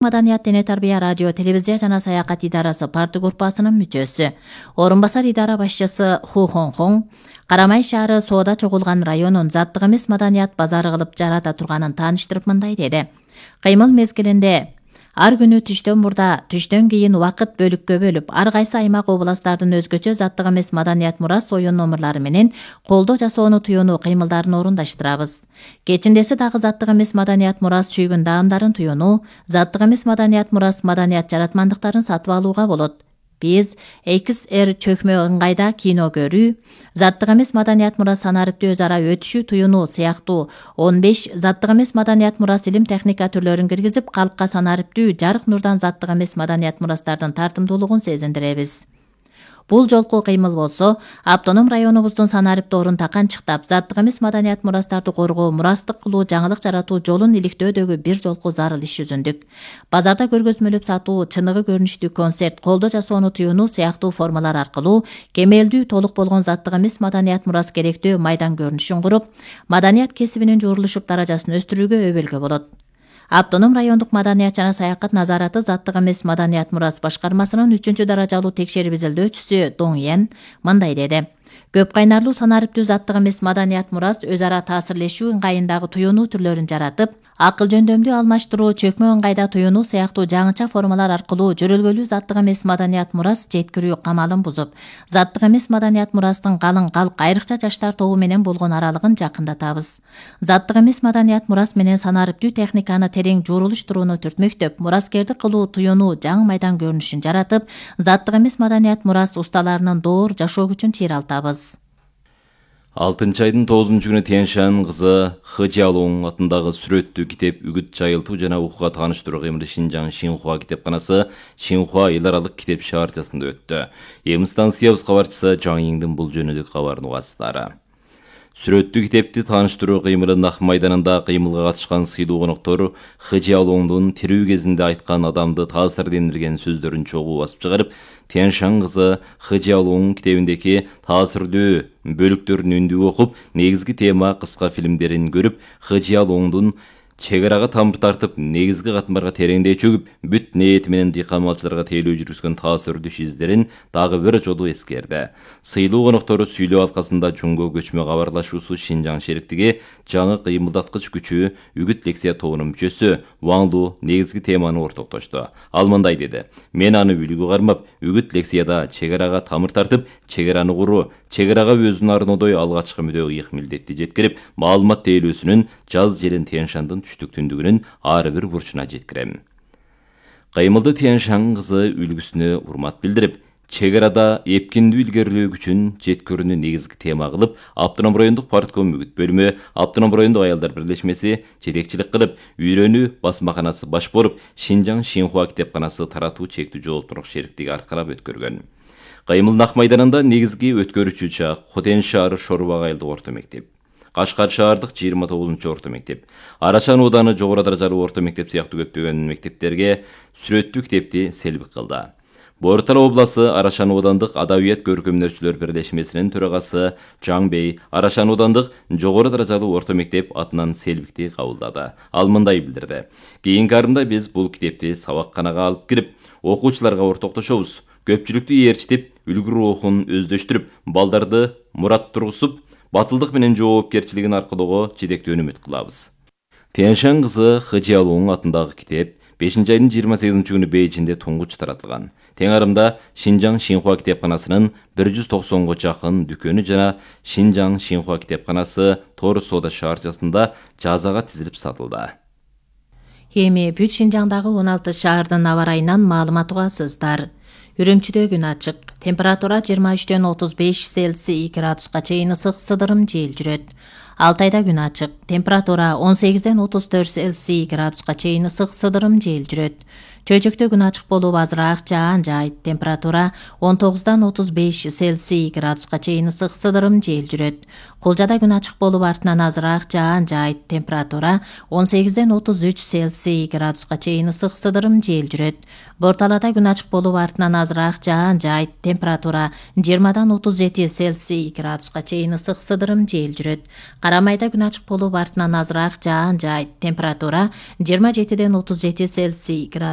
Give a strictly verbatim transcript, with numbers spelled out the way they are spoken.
Маданият дене тарбия радио, телевизия жана саякат идарасы парты группасынын мүчөсү. Орун басар идара башчысы Ху Хонхон Карамай шаары соода чогулган районун заттык эмес маданият базары кылып жарата турганын тааныштырып мындай деди. Кыймыл мезгилинде ар күнү түштөн мурда, түштөн кийин убакыт бөлүккө бөлүп, ар кайсы аймак областтардын өзгөчө заттык эмес маданият мурас оюн номерлары менен колдо жасоону туюнуу кыймылдарын орундаштырабыз. Кечиндеси дагы заттык эмес маданият мурас чүйгүн даамдарын туюнуу, заттык эмес маданият мурас маданият жаратмандыктарын сатып алууга болот. Биз экс эр чөкмө ыңгайда кино көрүү, заттык эмес маданият мурас санариптүү өз ара өтүшүү туюнуу сыяктуу он беш заттык эмес маданият мурас илим техника түрлөрүн киргизип, калкка санариптүү жарык нурдан заттык эмес маданият мурастардын тартымдуулугун сезиндиребиз. Бул жолку кыймыл болсо, автоном районубуздун санариптоорун таканчыктап, заттык эмес маданият мурастарды коргоо, мурастык кылуу, жаңылык жаратуу жолун иликтөөдөгү бир жолку зарыл иш жүзүндүк. Базарда көргөзмөлөп сатуу, чыныгы көрүнүштүү концерт, колдо жасоону туюнуу сыяктуу формалар аркылуу кемелдүү, толук болгон заттык эмес маданият мурас керектөө майдан көрүнүшүн куруп, маданият кесибинин журулушуп даражасын өстүрүүгө өбөлгө болот. Автоном райондук маданият жана саякат назараты заттык эмес маданият мурас башкармасынын үчүнчү даражалуу текшерип изилдөөчүсү Доң Йен мындай деди. Көп кайнарлуу санариптүү заттык эмес маданият мурас өз ара таасирлешүү ыңгайындагы туюнуу түрлөрүн жаратып, акыл жөндөмдүү алмаштыруу, чөкмө ыңгайда туюнуу сыяктуу жаңыча формалар аркылуу жөрөлгөлүү заттык эмес маданият мурас жеткирүү камалын бузуп, заттык эмес маданият мурастын калың калк, айрыкча жаштар тобу менен болгон аралыгын жакындатабыз. Заттык эмес маданият мурас менен санариптүү техниканы терең журулуштурууну түртмөктөп, мураскердик кылуу туюнуу жаңы майдан көрүнүшүн жаратып, заттык эмес маданият мурас усталарынын доор жашоо күчүн чыйралтабыз. алтынчы айдын тогузунчу күнү Тяньшань кызы Хы Жиалуң атындагы сүрөттүү китеп үгүт жайылтуу жана окууга тааныштыруу кыймылы Шинжаң Шинхуа китепканасы Шинхуа эл аралык китеп шаарчасында өттү. Эми станциябыз кабарчысы Жаң Йиңдин бул жөнүндө кабарын угасыздар. Сүрөттүү китепти тааныштыруу кыймылы Нах майданында кыймылга катышкан сыйлуу коноктор Хы Жиалуңдун тирүү кезинде айткан адамды таасирлендирген сөздөрүн чогуу басып чыгарып, Тяньшань кызы Хы Жиалуң китебиндеги таасирдүү бөлүктөрүн үндүп окуп, негизги тема кыска фильмдерин көрүп, Хы Жиалуңдун чек арага тамыр тартып, негизги катмарга тереңдей чөгүп, бүт ниети менен дыйкан малчыларга тейлөө жүргүзгөн таасирдүү издерин дагы бир жолу эскерди. Сыйлуу коноктору сүйлөө алкасында жөнгө көчмө кабарлашуусу Шинжаң шериктиги жаңы кыймылдаткыч күчү үгүт лекция тобунун мүчөсү Ваң Лу негизги теманы ортоктошту. Ал мындай деди: "Мен аны үлгү кармап, үгүт лекцияда чек арага тамыр тартып, чек араны куруу, чек арага өзүн арнодой алгачкы мүдө ыйык милдетти жеткирип, маалымат тейлөөсүнүн жаз желин Тяньшандын түштүк түндүгүнүн ар бир бурчуна жеткирем." Кыймылды Тяньшань кызы үлгүсүнө урмат билдирип, чек арада эпкиндүү илгерилөө күчүн жеткирүүнү негизги тема кылып, Автоном райондук партком үгүт бөлүмү, Автоном райондук аялдар бирлешмеси жетекчилик кылып, үйрөнүү басмаканасы баш болуп, Шинжаң Шинхуа китепканасы таратуу чектүү жооптуулук шериктиги аркалап өткөргөн. Кыймыл Нах майданында негизги өткөрүүчү чак Хотен шаары Шорбак айылдык орто мектеп, Кашкар шаардык жыйырма тогузунчу орто мектеп, Арашан ооданы жогору даражалуу орто мектеп сыяктуу көптөгөн мектептерге сүрөттүү китепти селбик кылды. Бортал обласы Арашан оодандык адабият көркөмдөөчүлөр бирлешмесинин төрагасы Жаң Бей Арашан оодандык жогору даражалуу орто мектеп атынан селбикти кабылдады. Ал мындай билдирди: "Кийинки арымда биз бул китепти сабакканага алып кирип, окуучуларга ортоктошобуз. Көпчүлүктү ээрчитип, үлгү рухун өздөштүрүп, балдарды мурат тургузуп, батылдык менен жоопкерчилигин аркылоого жетектөө үмүт кылабыз." Тяньшань кызы Хы Жиалуң атындагы китеп бешинчи айдын жыйырма сегизинчи күнү Бейжиңде туңгуч таратылган. Тең арымда Шинжаң Шинхуа китепканасынын бир жүз токсонго жакын дүкөнү жана Шинжаң Шинхуа китепканасы Тор соода шаарчасында жазага тизилип сатылды. Эми бүт Шинжаңдагы он алты шаардын аба ырайынан маалымат угасыздар. Үрүмчүдө күн ачык. Температура жыйырма үчтөн отуз беш Цельсий градуска чейин ысык сыдырым жел жүрөт. Алтайда күн ачык. Температура он сегизден отуз төрт Цельсий градуска чейин ысык сыдырым жел жүрөт. Чөйчөктө күн ачык болуп азыраак жаан жайт. Температура он тогуздан отуз беш Цельсий градуска чейин ысык сыдырым жел жүрөт. Кулжада күн ачык болуп артынан азыраак жаан жайт. Температура он сегизден отуз үч Цельсий градуска чейин ысык сыдырым жел жүрөт. Борталада күн ачык болуп артынан азыраак жаан жайт. Температура жыйырмадан отуз жети Цельсий градуска чейин ысык сыдырым жел жүрөт. Карамайда күн ачык болуп артынан азыраак жаан жаайт. Температура жыйырма жетиден отуз жети Цельсий градус